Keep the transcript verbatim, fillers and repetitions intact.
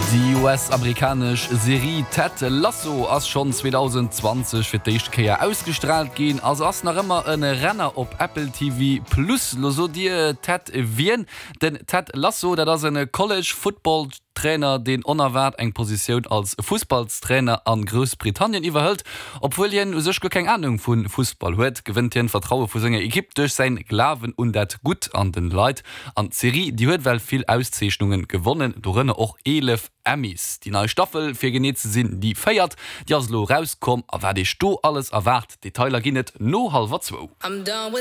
Déi U S-amerikanesch Serie Ted Lasso ass schonn zweedausendzwanzeg fir d'éischt Kéier ausgestraalt ginn a se ass nach ëmmer e Renner op Apple T V Plus. Lo sot dir: Ted wien? Den Ted Lasso, dat ass e College Football Trainer, deen onerwaart eng Positioun als Fussballstrainer a Groussbritannien iwwerhëlt. Obwuel hien u sech guer keng Anung vu Fussball huet, gewënnt hien d'Vertraue vu senger Ekipp duerch säi Glawen un dat Gutt an de Leit. An d'Serie, déi huet well vill Auszeechnunge gewonnen, dorënner och eelef Emmys. Déi nei Staffel, fir genee ze sinn déi véiert, déi ass lo rauskomm, a wat iech do alles erwaart, Detailer ginn et no hallwer zwou. I'm done with